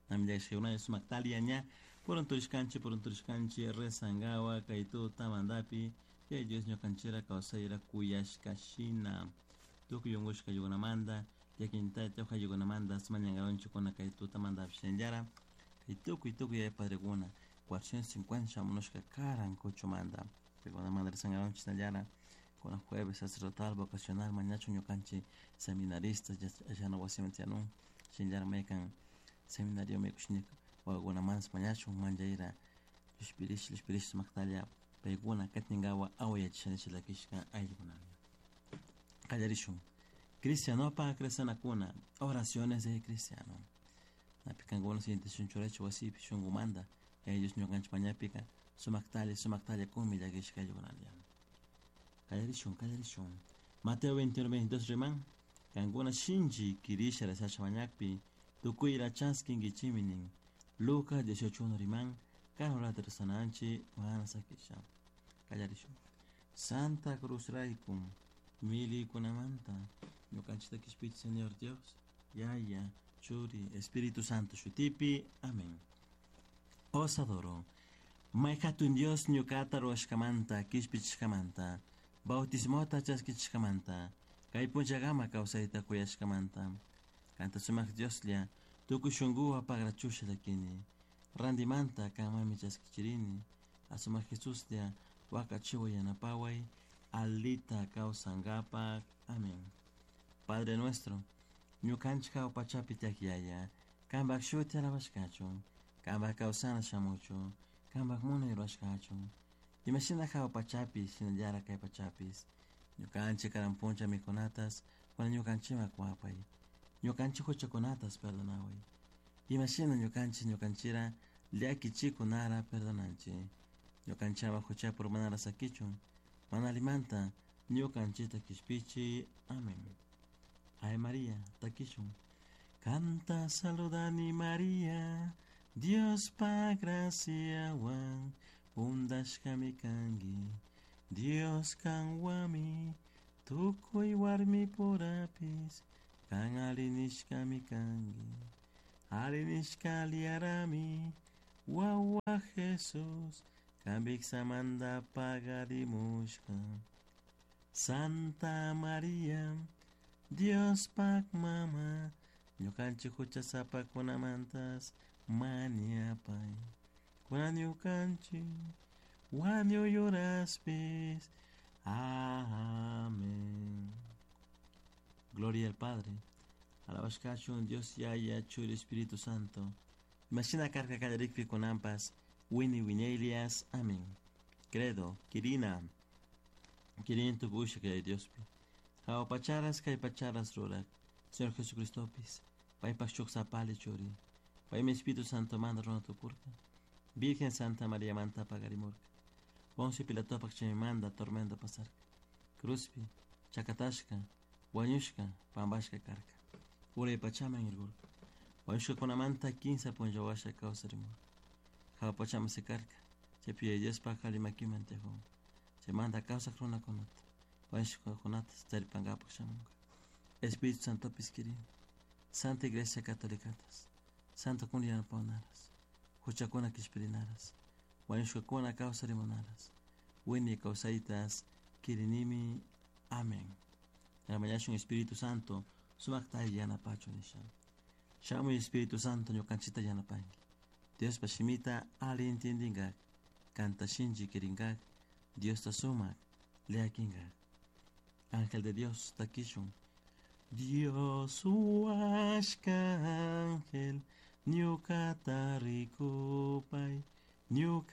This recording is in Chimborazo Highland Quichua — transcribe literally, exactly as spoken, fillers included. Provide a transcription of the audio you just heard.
Namillashkuna sumaktalia ña purunturishkanchik purunturishkanchik rezangawa kay tutamantapi Yaya Dios ñukanchikra kawsayra kuyashka shina tukuy unkushka ayllunkunamanta llakinta ayllukunamanta mañankaronchikuna kay tutamantapish shinallara kay tukuy tukuy yaya padrekuna cuatrocientos cincuenta shamunushka karan kuchumanta paykunamanta rezankaronchik shinallara kuna jueves sacerdotal vocacional mañachun ñukanchik seminaristas yachana wasiman tiyanun shinallara maykan seminario maykushnika wawakunamantash mañachun manchayra llushpirish llushpirish sumaktalla paykuna katinkawa awayachisha nisha llakishka ayllukunami. Qallarishun cristianopak rezanakuna oraciones de cristiano napi kankuna siguiente churachik wasipi shunkumanta Yaya Dios ñukanchik mañapika sumaktalla sumaktalla kunmi llakishka ayllukunalla. Qallarishun qallarishun Mateo veintiuno veintidós riman kankuna shinchi kirisha rezasha mañakpi tukuyra chaskinkichikmi nin. Lucas dieciocho uno riman kan horata rezananchik mana sakisha. Qallarishun Santa Cruz rayku milikunamanta ñukanchikta kishpichik Señor Dios Yaya Churi Espíritu Santo shutipi. Amén. Os adoro. May hatun Dios ñukata ruwashkamanta kishpichishkamanta bautismota chaskichishkamanta kay punchakama kawsayta kuyashkamanta kanta sumak Dioslla tukuy shunkuwan pagrachusha llakini rantimanta kanmanmi chaskichirini asumak Jesuslla wakachiway yanapaway alita kawsankapak. Amén. Padre nuestro ñukanchik hawa pachapi tiyak Yaya kanpak shuti alabashkachun kanpak kawsana shamuchun kanpak munay rurashkachun imashina hawa pachapi shinallara kay pachapis ñukanchik karan puncha mikunatas kunan ñukanchikman kuwapay ñukanchik huchakunatas perdonaway imashina ñukanchik ñukanchira llakichikunara perdonanchik ñukanchik ama huchapi urmanara sakichun mana allimanta ñukanchikta kishpichi. Amén. Ave María takishun kanta saludani María Diospa graciawan undashkami kanki Dios kanwami tukuy warmipurapis kan arinishkami kanki arinishka aliyarami wawa Jesús kanpiksamanta pagarimushka. Santa María Diospak mama ñukanchik huchasapakunamantas mañapay kunan ñukanchik wañuy horaspis. Amén. Gloria al Padre, alabashkachun Dios Yaya Churi Espíritu Santo. Imashina karka kallarikpi kunanpas wini wiñaylias. Amén. Credo, Kirina, Kirin tukuy kay Diospi. Hawa pacharas kay pacharas rurak. Señor Jesucristopis, paypak shuk sapali churi. Paymi Espíritu Santo manta runa tukurka. Virgen Santa María manta pagarimurka. Poncio Pilatopak chaymanta tormento pasarka. Cruzpi, chakatashka, wañushka, pampashka karka. Uray pachaman irkurka. Wañushkakunamanta kinsa punlla washa kawsarimurka. Hawa pachaman sikarka. Chaypi Yaya Diospak alli makiman tiyakun. Chaymanta kawsak runakunata, wañushkakunata taripankapak shamunka. Espíritu Santopis kirini. Santa Iglesia Católicatas, Santo kun yanapawanaras, huchakuna kishpirinaras, wañushkakuna kawsarimunaras, wiñay kawsaytas kirinimi. Amén. Mañashun Espíritu Santo sumakta yanapachun nisha. Shamuy Espíritu Santo ñukanchikta yanapanki. Diospa shimita alli entiendinkak, kanta shinchi kirinkak, Diosta sumak llakinkak. Ángel de Dios takishun. Dios huashka ángel ñukata rikupay ñuka